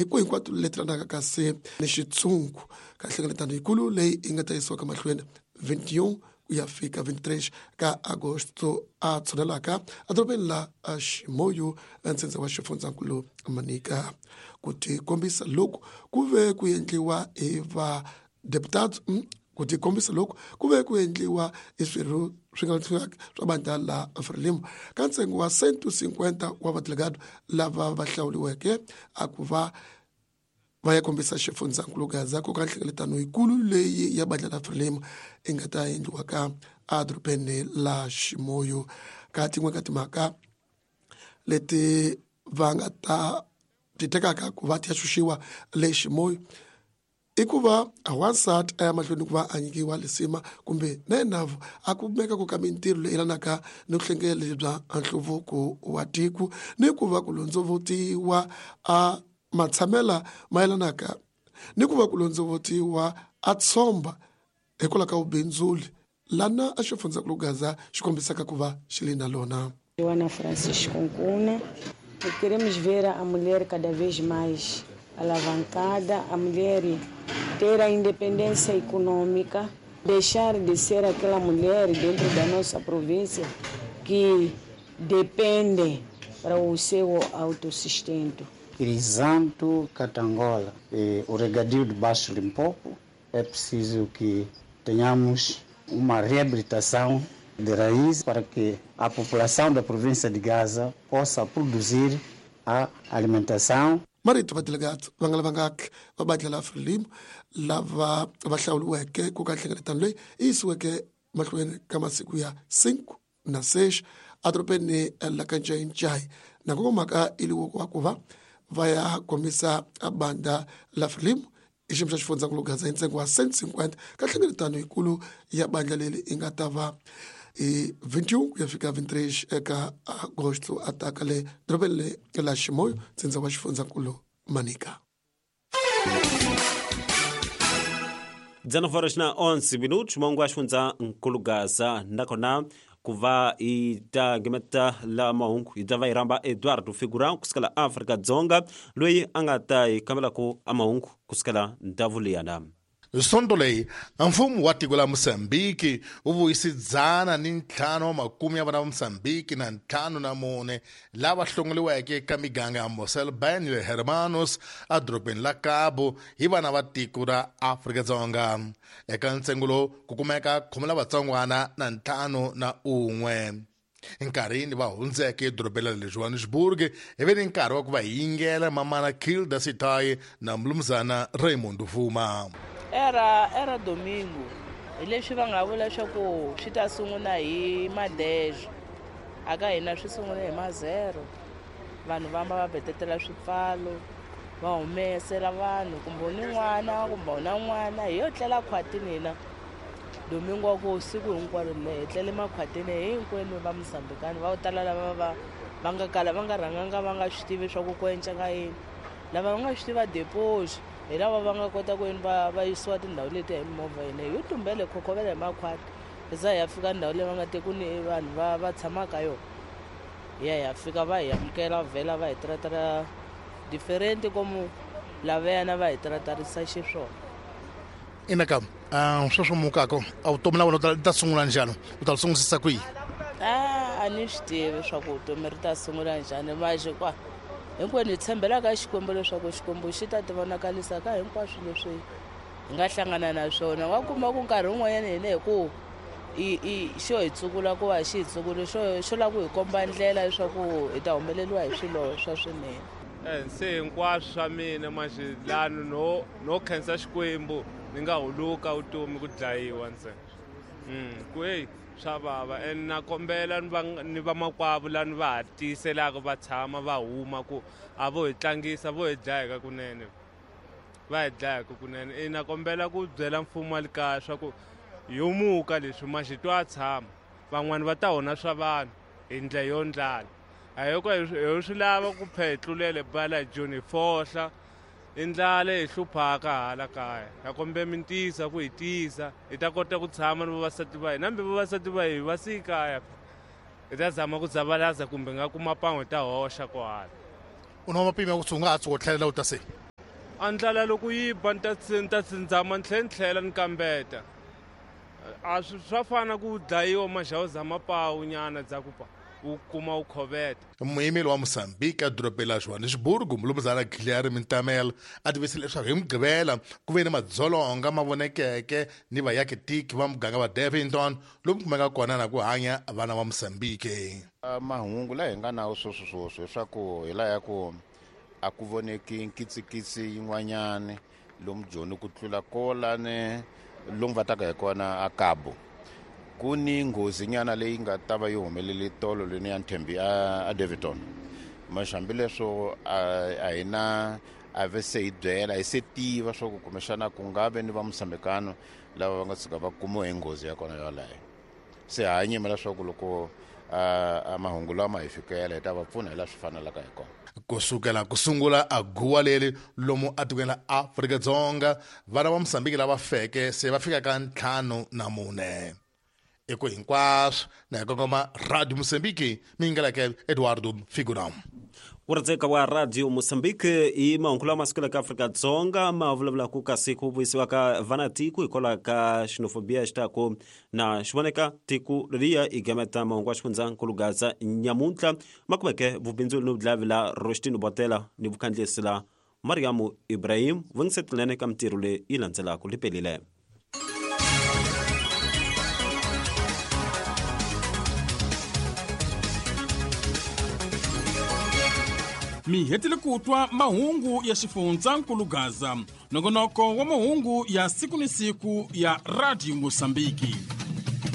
Hi ku hinkwato leti lanaka kasi ni xitshungu ka nhlengeletano yikulu leyi yi nga ta yisiwaka mahlweni 21 ku ya fika 23 ka agosto a tshunelaka edorobeni la Chimoio, ntsindza wa xifundzankulu Manica. Ku tikombisa loku ku ve ku endliwa hi va deputado ku tikombisa loku ku ve ku endliwa hi swirho swi nga swa bandla la Frelimo ka ntsengo wa 150 wa vadelegado lava va hlawuriweke a ku va va ya kombisa xifundzankulu Gaza ku ka nhlengeletano yikulu leyi ya bandla la Frelimo yi nga ta endliwa ka edorobeni la Chimoio. Ka tin'we ka timhaka leti va nga ta ti tekaka ku va ti ya xuxiwa le Chimoio i ku va wansati a ya mahlweni ku va a nyikiwa lisima kumbe na yena a kumeka ku ka mintirho leyi yelanaka ni vuhlengeli bya nhluvuko wa tiko ni ku va ku londzovutiwa a matshamela ma yelanaka ni ku va ku londzovutiwa a tshomba hikwalaho ka vubindzuli lana a xifundzankulu Gaza xi kombisaka ku va xi li na lona. Joana Francisco Nkuna. Queremos ver a mulher cada vez mais alavancada, a mulher ter a independência econômica, deixar de ser aquela mulher dentro da nossa província que depende para o seu autossustento. Crisanto Catangola, o regadio de Baixo Limpopo, é preciso que tenhamos uma reabilitação de raiz para que a população da província de Gaza possa produzir a alimentação. Marito va delegate va nga lavangaki va bandla la Frelimo lava va hlawuriweke ku ka nhlengeletano leyi yi yisiweke mahlweni ka masiku ya 5 na 6 edorobeni la ka Ncayincai na nkokomhaka i liwo wa ku va va ya kombisa bandla la Frelimo i xiyimo xa xifundzankulu Gaza hi ntsengo wa 150 ka nhlengeletano yikulu ya bandla leri yi nga ta va hi 21 ku ya fika 23 eka agosto a taka le dorobeni le la Chimoio, ntsindza wa xifundzankulu Manica. 19 horas na 11 minutos, mongo axifundza nkulu Gaza nakona ku va hi ta ngimeta la mahungu hi ta va hi rhamba Eduardo Figurão kusukela Afrika Dzonga loyi a nga ta hi kambelaka a mahungu kusukela ndhawu liyana. Sonto leyi mfumo wa tiko la Mozambiki wu vuyise 105 wa makume ya vana va Mozambiki na 54 lava hlongoliweke ka miganga ya Mossel Bay ni le Hermanus edorobeni la Cabo hi vana va tiko ra Afrika-Dzonga. Eka ntsengo lowu ku kumeka 10 lavatsongwana na 51. Nkarhini va hundzeke edorobeni ra le Johannesburg hi ve ni nkarhi wa ku va yingela mamana Kilda Sitayi na mulumuzana Raymond Vuma. Era domingo hi leswi va nga vula leswaku swi ta sungula hi madejo aka hina swi sungule hi mazero vanhu vamba va betetela swipfalo va humesela vanhu kumbe u ni n'wana kumbe u na n'wana hi yo tlela khwatini hina domingo wa ku siku hinkwaro le hi tlele makhwatini hinkwenu va Mozambikani va tala lava va va nga kala va nga rhanganga va nga swi tivi swa ku ku enceka yini lava va nga swi tiva deposi hi lava va nga kota ku yini va va yisiwa tindhawu leti hi mimovha hina hi yo tumbele khokhovela hi makhwati hi za hi ya fika ndhawu leyi va nga te ku ni vanhu va va tshamaka yona hi ya hi ya fika va hi amukela vhela va hi tiratara diferente komu lavayana va hi tiratarisa xiswona. Inaka sweswo mukako a vutomi la wena u ta sungula njhani u ta sungusisa kwihi? A ni swi tivi swa ku vutomi ri ta sungula njhani maje kwa hinkwenu hi tshembela ka Xikwembu leswaku Xikwembu xi ta ti vonakalisa ka hinkwaswo leswi hi nga hlangana na swona. Wa kuma ku nkarhi wun'wanyana hina hi ku i xo hi tsukula ku va xi hi tsukule xo xo lava ku hi komba ndlela leswaku hi ta humeleriwa hi swilo swa swinene. Se hinkwaswo swa mina manje lani no khensa Xikwembu ni nga huluka vutomi ku dlayiwa ntsena. Ku hey swa vava and na kombela ni vamakwavo lani va ha tiyiselaka va tshama va huma ku a vo hi tlangisa vo hi dlaya kunene. Va hi dlaya kunene. E na kombela ku byela mfumo wa le kaya swa ku yo muka leswi manje twa tshama van'wani va ta onha swa vanhu hi ndlela yo ndlala. A hi ko hi swi lava ku phe hi tlulele bala Joni hi fohla i ndlala hi hluphaka hala kaya. Ha kombela mi tiyisa ku hi tiyisa hi ta kota ku tshama ni vavasati va hina hambi vavasati va hi va siyi kaya hi ta zama ku dzavalaza kumbe nga kuma pan'we hi ta hoxa kohala. U na mapimo ya ku u nga ha tshuka u tlhelela u ta se? A ndlala loko yi ba ni ta ni ta tsindzama ni tlhela ni tlhela ni kambeta. A swi swa fana ku dlayiwa maxawuza mapawu nyana dza ku pa u kuma u khoveta. Muyimeli wa Mozambique edorobeni la Johannesburg, Mulumuzana Guilherme Ntamela, a tivise leswaku hi Mugqivela ku ve ni madzolonga ma vonekeke ni vayakitiki va muganga wa Daveyton lomu kumeka kona na ku hanya vana va Mozambique. Mahungu laha hi nga nawo sweswi sweswi leswaku hi laha ya ku a ku voneki nkitsikitsi yin'wanyani lomu Joni ku tlula kolani lomu va taka hi kona a Cabo. Ku ni nghozi nyana leyi nga ta va yi humelele tolo leni ya Nthembi a Daveyton. Mas hambileswo a hi na a ve se hi byela hi se tiva swa ku kumbexana ku nga ve ni va Mosambikano lava va nga tshuka va kumiwe hi nghozi ya kona yoleyo. Se ha nyimela leswaku loko a mahungu lama hi fikela hi ta va pfuna hi laha swi fanelaka hi kona. Ku sukela ku sungula a guwa leri lomu atikweni la Afrika-Dzonga, vana va Mosambiki lava feke se va fika ka 54. Eku hinkwaswo na hi kongoma Radio Mosambiki, mi ngeleke Eduardo Figuram. Ku wa Radio Mozambique i mahungu lama sukelaka Afrika-Dzonga ma vulavulaka kasi ku vuyisiwa ka vanatiko hikwalaho ka xenofobia xi taku na xi voneka tiko leriya i gameta mahungu wa xifundzankulu Gaza nyamuntlha ma kumeke vubindzuli ni vudlavi la Roshtino Botela ni vukhandlisi la Mariamu Ibrahim vungisetelene ka mintirho leyi yi landzelaka lipelile. Mi hetile ku twa mahungu ya xifundzankulu Gaza, nongonoko wa mahungu ya siku ni siku ya Radio Mosambiki.